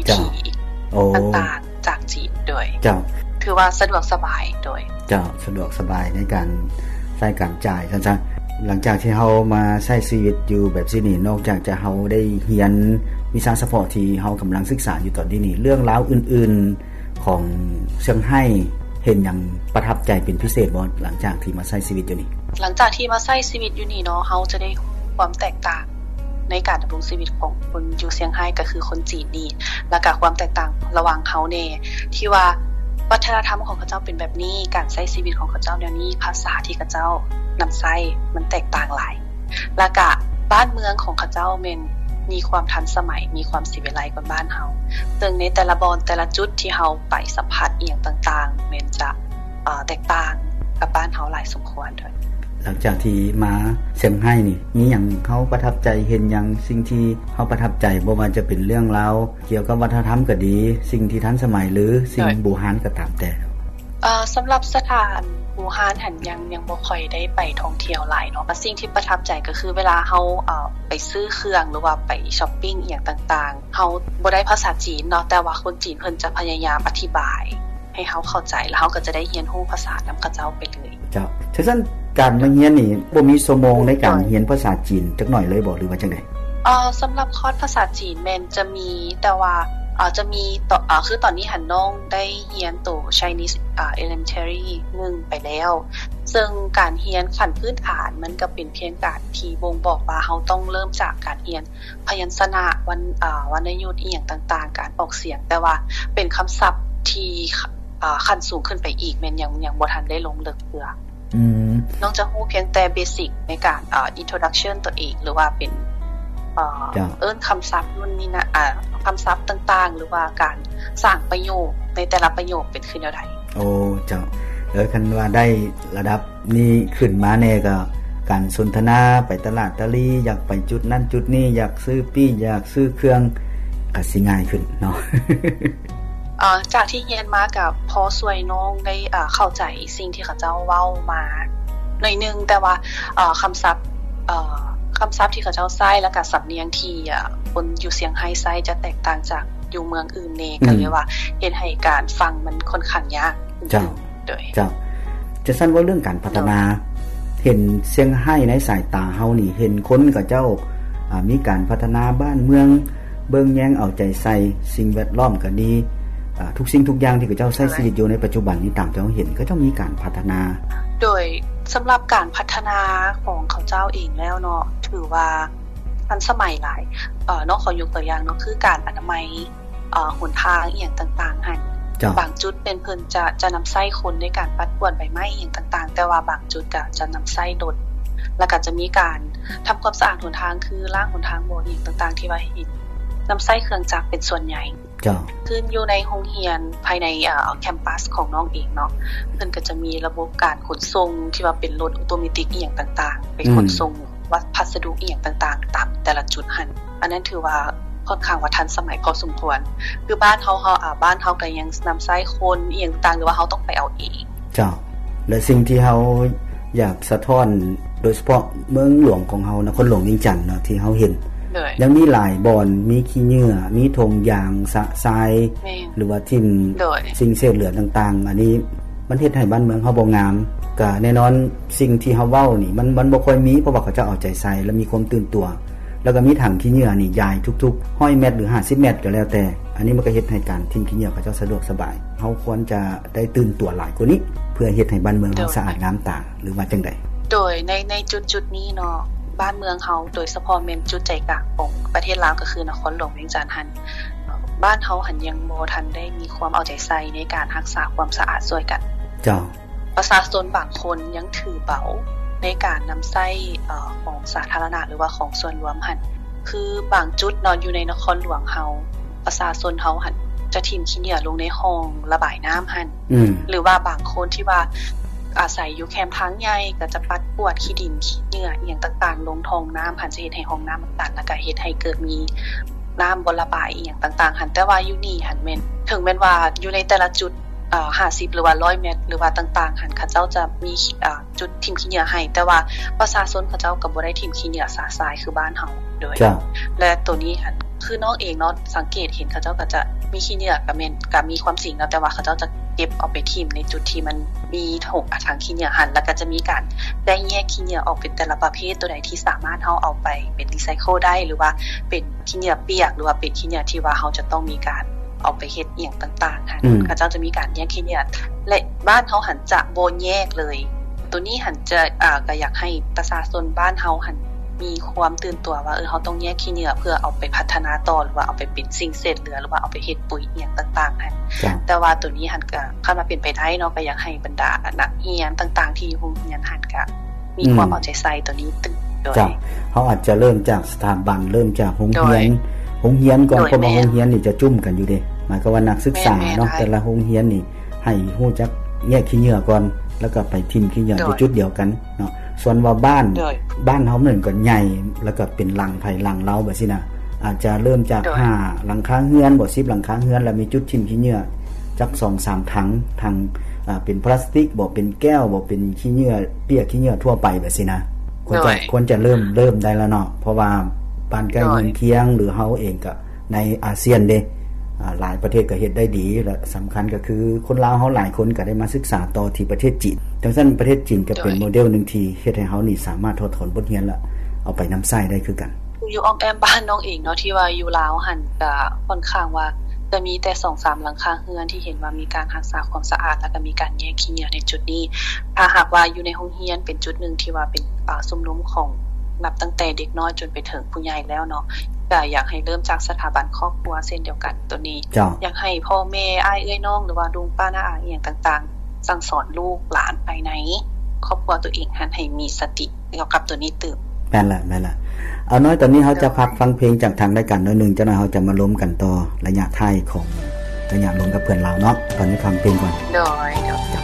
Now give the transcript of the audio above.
ເຈົ້າ ຂີ້ ໂອ້ ຕ່າງໆຈາກຈີນ ໂດຍ ເຈົ້າ ຖືວ່າສະດວກສະບາຍ ໂດຍ ເຈົ້າ ສະດວກສະບາຍໃນການໃຊ້ການຈ່າຍ ຊັ້ນຊະ. ຫຼັງຈາກທີ່ເຮົາມາໃຊ້ຊີວິດຢູ່ແບບຊີ້ນີ້ ນອກຈາກຈະເຮົາໄດ້ຮຽນວິຊາສະເພາະທີ່ເຮົາກຳລັງສຶກສາຢູ່ຕອນນີ້ນີ້ ເລື່ອງລາວອື່ນໆຂອງຊຽງໄຮ້ ເຫັນຫຍັງປະທັບໃຈເປັນພິເສດບໍ່ ຫຼັງຈາກທີ່ມາໃຊ້ຊີວິດຢູ່ນີ້? ຫຼັງຈາກທີ່ມາໃຊ້ຊີວິດຢູ່ນີ້ເນາະ ເຮົາຈະໄດ້ຮູ້ຄວາມແຕກຕ່າງ ໃນການດຳລົງຊີວິດຂອງຄົນຢູ່ຊຽງໄຮ້ ກໍຄືຄົນຈີນນີ້ ແລ້ວກໍຄວາມແຕກຕ່າງລະຫວ່າງເຮົາແດ່ ທີ່ວ່າວັດທະນະທຳຂອງເຂົາເຈົ້າເປັນແບບນີ້ ການໃຊ້ຊີວິດຂອງເຂົາເຈົ້າແນວນີ້ ພາສາທີ່ເຂົາເຈົ້ານຳໃຊ້ມັນແຕກຕ່າງຫຼາຍ ແລ້ວກະບ້ານເມືອງຂອງເຂົາເຈົ້າແມ່ນມີຄວາມທັນສະໄໝ ມີຄວາມສີວິໄລກວ່າບ້ານເຮົາ ເຊິ່ງໃນແຕ່ລະບ່ອນແຕ່ລະຈຸດທີ່ເຮົາໄປສຳຜັດອີ່ຫຍັງຕ່າງໆ ແມ່ນຈະ ເອີ ແຕກຕ່າງກັບບ້ານເຮົາຫຼາຍສົມຄວນ. ໂດຍ ຫຼັງຈາກທີ່ມາຊຽງໄຮ້ນີ້ ມີຫຍັງເຮົາປະທັບໃຈ ເຫັນຫຍັງ ສິ່ງທີ່ເຮົາປະທັບໃຈ ບໍ່ວ່າຈະເປັນເລື່ອງລາວກ່ຽວກັບວັດທະນະທຳກໍດີ ສິ່ງທີ່ທັນສະໄໝ ຫຼື ສິ່ງ ໂດຍ ບູຮານກໍຕາມແຕ່? ເອີ ສຳລັບສະຖານບູຮານຫັ້ນ ຍັງ ຍັງບໍ່ຄ່ອຍໄດ້ໄປທ່ອງທ່ຽວຫຼາຍເນາະ ແຕ່ສິ່ງທີ່ປະທັບໃຈກໍຄືເວລາເຮົາ ເອີ ໄປຊື້ເຄື່ອງ ຫຼືວ່າໄປຊັອບປິງອີ່ຫຍັງຕ່າງໆ ເຮົາບໍ່ໄດ້ພາສາຈີນເນາະ ແຕ່ວ່າຄົນຈີນເພິ່ນຈະພະຍາຍາມອະທິບາຍ ໃຫ້ເຮົາເຂົ້າໃຈ ແລ້ວເຮົາກໍຈະໄດ້ຮຽນຮູ້ພາສານຳເຂົາເຈົ້າໄປເລີຍ. ເຈົ້າ ຊັ້ນ ການມາຮຽນນີ້ບໍ່ມີຊົ່ວໂມງໃນການຮຽນພາສາຈີນຈັກໜ້ອຍເລີຍບໍ່ ຫຼືວ່າຈັ່ງໃດ? ເອີ ສຳລັບຄອດພາສາຈີນແມ່ນຈະມີ ແຕ່ວ່າ ເອີ ຈະມີ ເອີ ຄືຕອນນີ້ຫັ້ນນ້ອງໄດ້ຮຽນໂຕ Chinese ເອີ Elementary ໜຶ່ງໄປແລ້ວ ເຊິ່ງການຮຽນຂັ້ນພື້ນຖານມັນກໍເປັນພຽງການທີ່ບົ່ງບອກວ່າເຮົາຕ້ອງເລີ່ມຈາກການຮຽນ ພະຍັນຊະນະ ວັນ ເອີ ວັນນະຍຸດອີ່ຫຍັງຕ່າງໆ ການອອກສຽງ ແຕ່ວ່າເປັນຄຳສັບທີ່ ເອີ ຂັ້ນສູງຂຶ້ນໄປອີກ ແມ່ນຍັງ ຍັງບໍ່ທັນໄດ້ລົງເລິກເທື່ອ. ອືມ ນ້ອງຈະຮູ້ພຽງແຕ່ເບສິກໃນການ ເອີ introduction ຕົວເອງ ຫຼືວ່າເປັນ ເອີ ເອີ້ນຄຳສັບ ນຸ່ນນີ້ນະ ເອີ ຄຳສັບຕ່າງໆ ຫຼືວ່າການສ້າງປະໂຫຍກ ໃນແຕ່ລະປະໂຫຍກເປັນຄືແນວໃດ. ໂອ້ ເຈົ້າ ເອີ ຄັນວ່າໄດ້ລະດັບ ນີ້ຂຶ້ນມາແດ່ກໍການສົນທະນາ ໄປຕະຫຼາດຕະຫຼີ ຢາກໄປຈຸດນັ້ນຈຸດນີ້ ຢາກຊື້ປີ້ ຢາກຊື້ເຄື່ອງ ກໍຊິງ່າຍຂຶ້ນເນາະ. ເອີ ຈາກທີ່ຮຽນມາກໍພໍຊ່ວຍນ້ອງໄດ້ ເອີ ເຂົ້າໃຈສິ່ງທີ່ເຂົາເຈົ້າເວົ້າມາໜ້ອຍໜຶ່ງ ແຕ່ວ່າ ເອີ ຄຳສັບ ເອີ ຄຳສັບທີ່ເຂົາເຈົ້າໃຊ້ ແລ້ວກໍສຳນຽງທີ່ ເອີ ຄົນຢູ່ຊຽງໄຮ້ໃຊ້ຈະແຕກຕ່າງຈາກຢູ່ເມືອງອື່ນແດ່ ອືມ ກໍເລີຍວ່າເຮັດໃຫ້ການຟັງມັນຂ້ອນຂ້າງຍາກ. ເຈົ້າ ໂດຍ ເຈົ້າ ຈັ່ງຊັ້ນເວົ້າເລື່ອງການພັດທະນາ ເຫັນຊຽງໄຮ້ໃນສາຍຕາເຮົານີ້ ເຫັນຄົນເຂົາເຈົ້າ ອາ ມີການພັດທະນາບ້ານເມືອງ ເບິ່ງແຍງເອົາໃຈໃສ່ ສິ່ງແວດລ້ອມກໍດີ ອາ ທຸກສິ່ງທຸກຢ່າງທີ່ເຂົາເຈົ້າໃຊ້ຊີວິດຢູ່ໃນປັດຈຸບັນນີ້ ຕາມທີ່ເຮົາເຫັນ ເຂົາເຈົ້າມີການພັດທະນາ. ໂດຍ ສຳລັບການພັດທະນາຂອງເຂົາເຈົ້າເອງແລ້ວເນາະ ຖືວ່າທັນສະໄໝຫຼາຍ ເອີ ນ້ອງຂໍຍົກຕົວຢ່າງເນາະ ຄືການອະນາໄມ ເອີ ຫົນທາງອີ່ຫຍັງຕ່າງໆຫັ້ນ ເຈົ້າ ບາງຈຸດເປັນເພິ່ນຈະ ຈະນຳໃຊ້ຄົນໃນການປັດກວາດໃບໄມ້ອີ່ຫຍັງຕ່າງໆ ແຕ່ວ່າບາງຈຸດກໍຈະນຳໃຊ້ລົດ ແລ້ວກໍຈະມີການທຳຄວາມສະອາດຫົນທາງ ຄືລ້າງຫົນທາງບໍ່ອີ່ຫຍັງຕ່າງໆ ທີ່ວ່າເຫັນນຳໃຊ້ເຄື່ອງຈັກເປັນສ່ວນໃຫຍ່. ເຈົ້າ ຄືຢູ່ໃນໂຮງຮຽນພາຍໃນ ເອີ ແຄມປັສຂອງນ້ອງເອງເນາະ ເພິ່ນກໍຈະມີລະບົບການຂົນສົ່ງທີ່ວ່າເປັນລົດອອໂຕເມຕິກອີ່ຫຍັງຕ່າງໆ ໄປ ອືມ ຂົນສົ່ງ ວ່າພັດສະດຸອີ່ຫຍັງຕ່າງໆ ຕາມແຕ່ລະຈຸດຫັ້ນ ອັນນັ້ນຖືວ່າຂ້ອນຂ້າງວ່າທັນສະໄໝພໍສົມຄວນ ຄືບ້ານເຮົາ ເຮົາ ອາ ບ້ານເຮົາກໍຍັງນຳໃຊ້ຄົນອີ່ຫຍັງຕ່າງໆ ຫຼືວ່າເຮົາຕ້ອງໄປເອົາເອງ. ເຈົ້າ ແລະ ສິ່ງທີ່ເຮົາຢາກສະທ້ອນ ໂດຍສະເພາະເມືອງຫຼວງຂອງເຮົາ ນະຄອນຫຼວງວຽງຈັນເນາະ ທີ່ເຮົາເຫັນ ໂດຍ ຍັງມີຫຼາຍບ່ອນ ມີຂີ້ເຫຍື້ອ ມີຖົງຢາງ ຊະຊາຍ ແມ່ນ ຫຼືວ່າຖິ້ມ ໂດຍ ສິ່ງເສດເຫຼືອຕ່າງໆ ອັນນີ້ ມັນເຮັດໃຫ້ບ້ານເມືອງເຮົາບໍ່ງາມ. ກະແນ່ນອນ ສິ່ງທີ່ເຮົາເວົ້ານີ້ ມັນ ມັນບໍ່ຄ່ອຍມີ ເພາະວ່າເຂົາເຈົ້າເອົາໃຈໃສ່ ແລະ ມີຄວາມຕື່ນຕົວ ແລ້ວກໍມີຖັງຂີ້ເຫຍື້ອນີ້ຢາຍທຸກໆຮ້ອຍແມັດ ຫຼື ຫ້າສິບແມັດກໍແລ້ວແຕ່. ອັນນີ້ມັນກໍເຮັດໃຫ້ການຖິ້ມຂີ້ເຫຍື້ອເຂົາເຈົ້າສະດວກສະບາຍ. ເຮົາຄວນຈະໄດ້ຕື່ນຕົວຫຼາຍກວ່ານີ້ ເພື່ອເຮັດໃຫ້ບ້ານເມືອງເຮົາ ໂດຍ ສະອາດງາມຕາ ຫຼືວ່າຈັ່ງໃດ? ໂດຍ ໃນ ໃນຈຸດໆນີ້ເນາະ ບ້ານເມືອງເຮົາ ໂດຍສະເພາະແມ່ນຈຸດໃຈກາງຂອງປະເທດລາວ ກໍຄືນະຄອນຫຼວງວຽງຈັນຫັ້ນ ບ້ານເຮົາຫັ້ນຍັງບໍ່ທັນໄດ້ມີຄວາມເອົາໃຈໃສ່ໃນການຮັກສາຄວາມສະອາດຊ່ວຍກັນ. ເຈົ້າ. ປະຊາຊົນບາງຄົນຍັງຖືເບົາໃນການນຳໃຊ້ ເອີ ຂອງສາທາລະນະ ຫຼືວ່າຂອງສ່ວນລວມຫັ້ນ ຄືບາງຈຸດເນາະ ຢູ່ໃນນະຄອນຫຼວງເຮົາ ປະຊາຊົນເຮົາຫັ້ນຈະຖິ້ມຂີ້ເຫຍື້ອລົງໃນຮ່ອງລະບາຍນ້ຳຫັ້ນ ອືມ ຫຼືວ່າບາງຄົນທີ່ວ່າອາໄສຢູ່ແຄມທາງໃຫຍ່ ກໍຈະປັດກວາດຂີ້ດິນຂີ້ເຫຍື້ອອີ່ຫຍັງຕ່າງໆລົງຮ່ອງນ້ຳຫັ້ນ ຈະເຮັດໃຫ້ຮ່ອງນ້ຳມັນຕັນ ແລ້ວກໍເຮັດໃຫ້ເກີດມີນ້ຳບໍ່ລະບາຍອີ່ຫຍັງຕ່າງໆຫັ້ນ. ແຕ່ວ່າຢູ່ນີ້ຫັ້ນແມ່ນ ເຖິງແມ່ນວ່າຢູ່ໃນແຕ່ລະຈຸດ ເອີ ຫ້າສິບ ຫຼືວ່າ ຮ້ອຍແມັດ ຫຼືວ່າຕ່າງໆຫັ້ນ ເຂົາເຈົ້າຈະມີ ເອີ ຈຸດຖິ້ມຂີ້ເຫຍື້ອໃຫ້ ແຕ່ວ່າປະຊາຊົນເຂົາເຈົ້າກໍບໍ່ໄດ້ຖິ້ມຂີ້ເຫຍື້ອຊະຊາຍຄືບ້ານເຮົາ. ໂດຍ ເຈົ້າ ແລະ ໂຕນີ້ຫັ້ນ ຄືນ້ອງເອງເນາະ ສັງເກດເຫັນເຂົາເຈົ້າກໍຈະມີຂີ້ເຫຍື້ອ ກໍແມ່ນ ກໍມີຄວາມຈິງເນາະ ແຕ່ວ່າເຂົາເຈົ້າຈະເກັບເອົາໄປຖິ້ມໃນຈຸດທີ່ມັນມີຖົງ ອາ ຖັງຂີ້ເຫຍື້ອຫັ້ນ ແລ້ວກໍຈະມີການແບ່ງແຍກຂີ້ເຫຍື້ອອອກເປັນແຕ່ລະປະເພດ ໂຕໃດທີ່ສາມາດເຮົາເອົາໄປເປັນ recycle ໄດ້ ຫຼືວ່າເປັນຂີ້ເຫຍື້ອປຽກ ຫຼືວ່າເປັນຂີ້ເຫຍື້ອທີ່ວ່າເຮົາຈະຕ້ອງມີການ ເອົາໄປເຮັດອີ່ຫຍັງຕ່າງໆຫັ້ນ ອືມ ເຂົາເຈົ້າຈະມີການແຍກຂີ້ເຫຍື້ອ ແລະ ບ້ານເຮົາຫັ້ນຈະບໍ່ແຍກເລີຍ. ໂຕນີ້ຫັ້ນຈະ ອາ ກໍຢາກໃຫ້ປະຊາຊົນບ້ານເຮົາຫັ້ນມີຄວາມຕື່ນຕົວວ່າ ເອີ ເຮົາຕ້ອງແຍກຂີ້ເຫຍື້ອເພື່ອເອົາໄປພັດທະນາຕໍ່ ຫຼືວ່າເອົາໄປເປັນສິ່ງເສດເຫຼືອ ຫຼືວ່າເອົາໄປເຮັດປຸ໋ຍອີ່ຫຍັງຕ່າງໆຫັ້ນ. ເຈົ້າ ແຕ່ວ່າໂຕນີ້ຫັ້ນກໍ ຄັນວ່າເປັນໄປໄດ້ເນາະ ກໍຢາກໃຫ້ບັນດານັກຮຽນຕ່າງໆທີ່ຢູ່ໂຮງຮຽນຫັ້ນ ກໍ ມີຄວາມ ອືມ ເອົາໃຈໃສ່ໂຕນີ້ຕື່ມ. ໂດຍ ເຈົ້າ ເຮົາອາດຈະເລີ່ມຈາກສະຖາບັນ ເລີ່ມຈາກໂຮງຮຽນ ໂດຍ ໂຮງຮຽນກ່ອນ. ໂດຍ ເພາະວ່າ ແມ່ນ ໂຮງຮຽນນີ້ຈະຈຸ້ມກັນຢູ່ເດ້ ໝາຍຄວາມວ່ານັກສຶກສາເນາະ ແມ່ນໆ ແຕ່ລະໂຮງຮຽນນີ້ໃຫ້ຮູ້ຈັກແຍກຂີ້ເຫຍື້ອກ່ອນ ແລ້ວກໍໄປຖິ້ມຂີ້ເຫຍື້ອ ໂດຍ ຢູ່ຈຸດດຽວກັນເນາະ. ສ່ວນວ່າບ້ານ ໂດຍ ບ້ານເຮົາມັນກໍໃຫຍ່ ແລ້ວກໍເປັນຫຼັງໃຜຫຼັງລາວແບບຊີ້ນະ ອາດຈະເລີ່ມຈາກ ໂດຍ ຫ້າຫຼັງຄາເຮືອນບໍ ສິບຫຼັງຄາເຮືອນ ແລ້ວມີຈຸດຖິ້ມຂີ້ເຫຍື້ອຈັກສອງສາມຖັງ ຖັງ ອາ ເປັນພລາສຕິກບໍ ເປັນແກ້ວບໍ ເປັນຂີ້ເຫຍື້ອປຽກ ຂີ້ເຫຍື້ອທົ່ວໄປແບບຊີ້ນະ. ຄວນຈະ ໂດຍ ຄວນຈະເລີ່ມ ເລີ່ມໄດ້ແລ້ວເນາະ ເພາະວ່າບ້ານໃກ້ ໂດຍ ເຮືອນຄຽງ ຫຼືເຮົາເອງກໍໃນອາຊຽນເດ້ ອາ ຫຼາຍປະເທດກໍເຮັດໄດ້ດີ ແລະ ສຳຄັນກໍຄືຄົນລາວເຮົາຫຼາຍຄົນກໍໄດ້ມາສຶກສາຕໍ່ທີ່ປະເທດຈີນ. ຈັ່ງຊັ້ນປະເທດຈີນກໍເປັນ ໂດຍ ໂມເດວໜຶ່ງທີ່ເຮັດໃຫ້ເຮົານີ້ສາມາດຖອດຖອນບົດຮຽນ ແລະ ເອົາໄປນຳໃຊ້ໄດ້ຄືກັນ. ຢູ່ອ້ອມແອ້ມບ້ານນ້ອງເອງເນາະ ທີ່ວ່າຢູ່ລາວຫັ້ນກະຂ້ອນຂ້າງວ່າຈະມີແຕ່ສອງສາມຫຼັງຄາເຮືອນທີ່ເຫັນວ່າມີການຮັກສາຄວາມສະອາດ ແລ້ວກະມີການແຍກຂີ້ເຫຍື້ອໃນຈຸດນີ້. ຖ້າຫາກວ່າຢູ່ໃນໂຮງຮຽນເປັນຈຸດໜຶ່ງທີ່ວ່າເປັນ ອາ ຊຸມນຸມຂອງນັບຕັ້ງແຕ່ເດັກນ້ອຍຈົນໄປເຖິງຜູ້ໃຫຍ່ແລ້ວເນາະ ກະຢາກໃຫ້ເລີ່ມຈາກສະຖາບັນຄອບຄົວເຊັ່ນດຽວກັນ. ໂຕນີ້ ເຈົ້າ ຢາກໃຫ້ພໍ່ແມ່ ອ້າຍເອື້ອຍນ້ອງ ຫຼືວ່າລຸງປ້ານ້າອາອີ່ຫຍັງຕ່າງໆ ສັ່ງສອນລູກຫຼານພາຍໃນຄອບຄົວໂຕເອງຫັ້ນໃຫ້ມີສະຕິ ກ່ຽວກັບໂຕນີ້ຕື່ມ. ແມ່ນລະ ແມ່ນລະ. ອາ ນ້ອຍ ຕອນນີ້ເຮົາຈະ ໂດຍ ພັກຟັງເພງຈາກທາງລາຍການໜ້ອຍໜຶ່ງ ຈັກໜ້ອຍເຮົາຈະມາລົມກັນຕໍ່ໄລຍະທ້າຍຂອງໄລຍະລົມກັບເພື່ອນລາວເນາະ. ຕອນນີ້ຟັງເພງກ່ອນ. ໂດຍ ໂດຍ.